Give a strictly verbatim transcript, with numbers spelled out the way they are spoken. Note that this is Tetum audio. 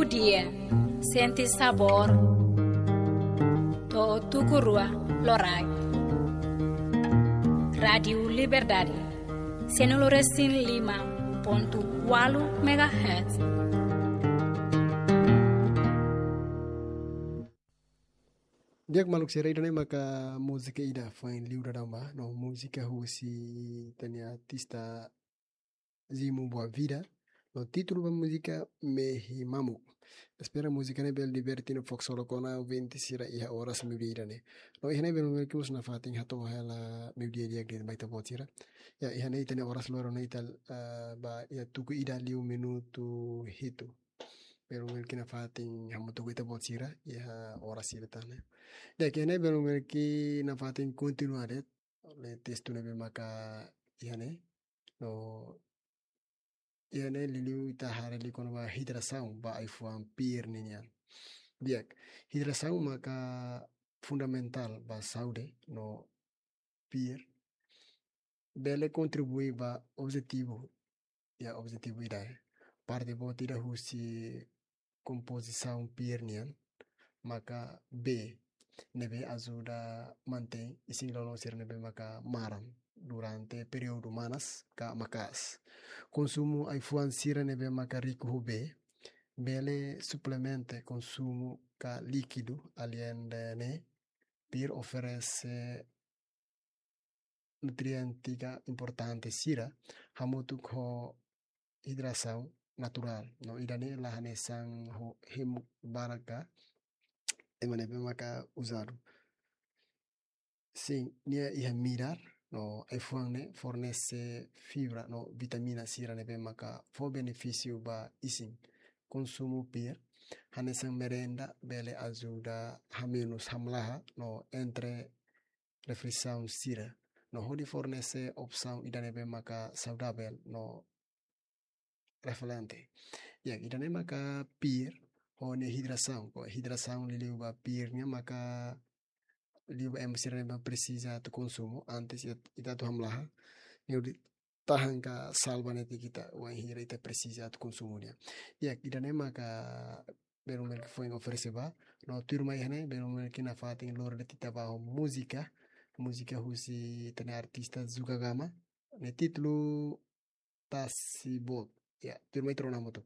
Dia, sente sabór. To'o tuku rua loraik. Rádiu Liberdade, sianulu resin lima pontu ualu megahertz. Di'ak maluk sira, ida-ne'e maka múzika ida foin liu daudaun ba, no múzika husi ita-nia artista Zimo Boavida, no títulu ba múzika Mehi Mamuk. Espera múzika ne'e bele diverte no fó ksolok ona ouvinte sira iha oras meiudia ida-ne'e. No iha ne'e belun belun mós nafatin hato'o hela meiudia di'ak ba ita-boot sira. Ya, iha ne'e ita-nia oras loron ne'e ita, ah, ba iha tuku ida liu minutu hitu. Belun belun nafatin hamutuk ho ita-boot sira iha oras ida tan ne'e. Di'ak, iha ne'e belun belun nafatin kontinua de'it. Oleh testu ne'ebé maka iha ne'e. No iha ne'e liuliu ita haree liu kona-ba hidrasaun ba ai-fuan pir ninian. Di'ak, hidrasaun maka fundamentál ba saúde no pir bele kontribui ba objetivu, ya, objetivu ida, eh, parte boot ida husi kompozisaun pir nian maka bee, ne'ebé ajuda mantein isin-lolon sira ne'ebé maka maran durante períodu manas ka maka'as. Konsumu ai-fuan sira ne'ebé maka riku ho bee, bele suplementa konsumu ka líkidu, aleinde ne'e, pir oferese nutriente ka importante sira hamutuk ho hidrasaun naturál. No ida-ne'e la hanesan ho hemu baraka ema ne'ebé maka uzadu. Sin, nia iha midar, no ai-fuan ne'e fornese fibra no vitamina sira ne'ebé maka fó benefísiu ba isin. Konsumu pir hanesan merenda bele ajuda hamenus hamlaha no entre refeisaun sira, no hodi fornese opsaun ida ne'ebé maka saudavel no refreshante. Ya, ida-ne'e maka pir ho nia hidrasaun. Ko hidrasaun liuliu ba pir nian maka liu ba ema sira ne'ebé presiza atu konsumu antes ita, ita atu hamlaha. Nia hodi tahan ka salva netik ita wainhira ita presiza atu konsumu nia. Ya, ida-ne'e maka belun belun foin oferese ba. No tuirmai iha ne'e belun belun nafatin lori de'it ita ba ho múzika. Múzika husi ita-nia artista Zuka Gama. Nia títulu Tasi Boot. Ya, tuirmai ita rona hamutuk.